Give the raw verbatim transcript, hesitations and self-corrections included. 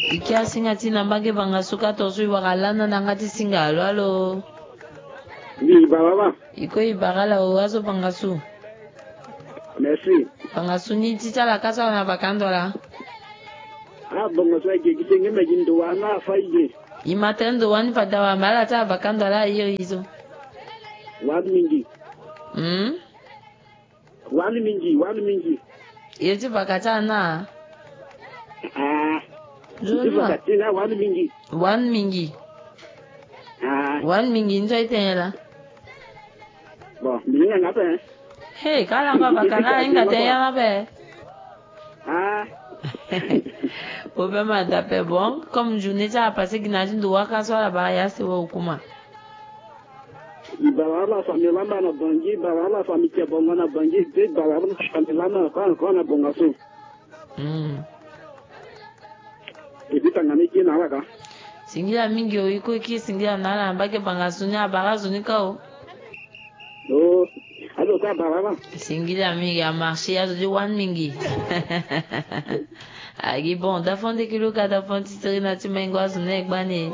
Ike asinga ti na mbage bangasu ka tonso i wara lana na nga ti singa alo alo. Ndi baba. Iko i bara la o azo bangasu. Merci. Bangasu ni ti ti ala ka so ala na bakando ala. Ah, bangasu age gi senge me gi ndo wa na fa ige. I ma tene ndo wa ni fada wa ma ala ti ala bakando ala aye i zo. Wa mingi. Hmm? Wani mingi, wani mingi. Ye ti baka ti ana. Ah. Ti baka ti na wani mingi. Wani mingi. Ah. Wani mingi nzo itela. Bon, mingi nga pe. Hey, kala nga baka na inga te ya nga pe. Ah. Obe ma da pe bon, comme journée ti a passé gina ti ndo waka so ala ba ya se wo kuma. I bara ala famille lama na Bangui, i bara ala famille Tiabongo na Bangui, i bara ala famille lama na Kwan Kwan na Bongaso. Mm. Et puis tanga ni kina ala ka. Singila mingi o iko ki singila na ala mbage Bangasu ni abara zo ni ka o. Oh, alo ka bara ala. Singila mingi a marché azo di wan mingi. Agi bon, da fon de kilo ka da fon ti seri na ti mengo azo ne gbani.